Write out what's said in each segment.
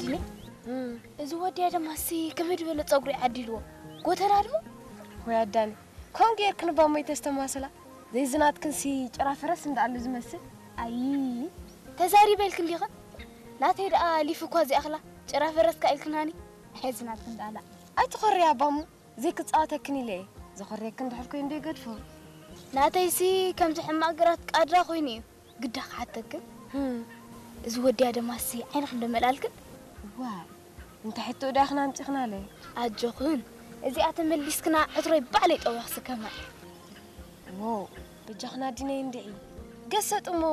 ዲኒ፣ እዚ ወዲ ኣደማሲ ከመይ ዝበለ ጸጉሪ ዓዲልዎ? ጎተና ድሞ? ወይ ኣዳኒ፣ ከምኡ ጌርክን ባሞይ ተስተማስላ? ዘይዝናትክንሲ ጭራ ፈረስ እንዳኣሉ ዝመስል? ኣይ፣ ተዛሪበ ኢልክን ዲኽን? ናተይ ደኣ ሊፍ እኳ ዘይኣኽላ ጭራ ፈረስ ከ ኢልክናኒ? ሕዝናትክን ደኣላ። ኣይትኾርያ ባሙ፣ ዘይክጻወተክን ኢለ እየ። ዘኾርየክን ድሕር ኮይኑ ዶ ይገድፎ? ናተይሲ ከምዚ ሕማቕ ግራት ቃድራ ኮይኑ እዩ። ግዳ ክሓተክን? ህም። እዚ ወዲ ኣደማሲ ዓይንኽን ዶ መልኣልክን? ዋይ፣ እንታይ ሕቶ ዳኽን ኣምጺኽናለ? ኣጆኽን፣ እዚኣ ተመሊስክና ዕትሮይ ባዕለይ ጠዊኽሲ ከማይ። ዎ፣ በጃኽን ኣዲነይ እንድዒ። ገሰጥ እሞ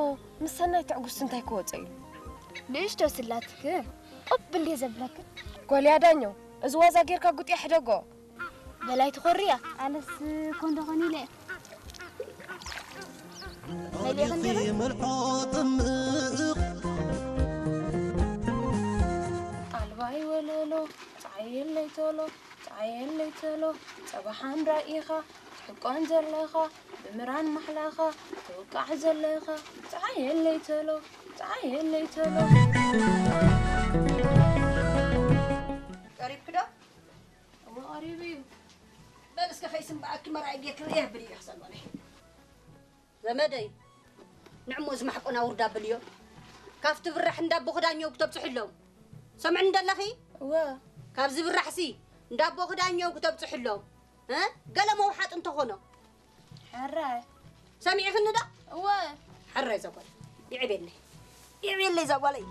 ምስ ሰናይ ትዕጉስቲ እንታይ ክወጾ እዩ? ንእሽቶ ስላትክን፣ ቁብ እንዴ ዘብለክን? ጎልያ ዳኘው፣ እዚ ዋዛ ጌርካ ጉጥያ ሕደጎ። በላይ ትኾርያ? ኣነስ ኮንዶ ኾን ኢለ። መሊእኽን ዲኺ? መልሖ ጥምቕ። ኣልባይ ወለሎ፣ ጸዓየለይ ቶሎ፣ ጸዓየለይ ቶሎ፣ ጸባሓን ራኢኻ፣ ትሕቆን ዘለኻ፣ ብምራን ማሕላኻ፣ ትውቃዕ ዘለኻ፣ ጸዓየለይ ቶሎ፣ ጸዓየለይ ቶሎ። ቀሪብኪ ዶ? እወ፣ ቀሪቡ እዩ። በል እስከ ከይስምበኣኪ መርኣይ ጌርኪ ርእየ ብልዮ ክሰልበለይ። ዘመደይ፣ ንዕሞ እዚ ማሕቆና ውርዳ ብልዮ። ካብቲ ብራሕ እንዳ ኣቦ ክዳኘው ክተብጽሑ ኣለዉ። ሰምዕኒ ደለኺ? እወ። ካብዚ ብራሕሲ እንዳ ኣቦ ክዳኘው ክተብጽሑ ኣለዉ። እ? ገለ መውሓጥ እንተኾኖ። ሕራይ። ሰሚዕኽኒ ዶ? እወ። ሕራይ ዘጓል። ይዕቤለይ። ይዕቤለይ ዘጓለይ።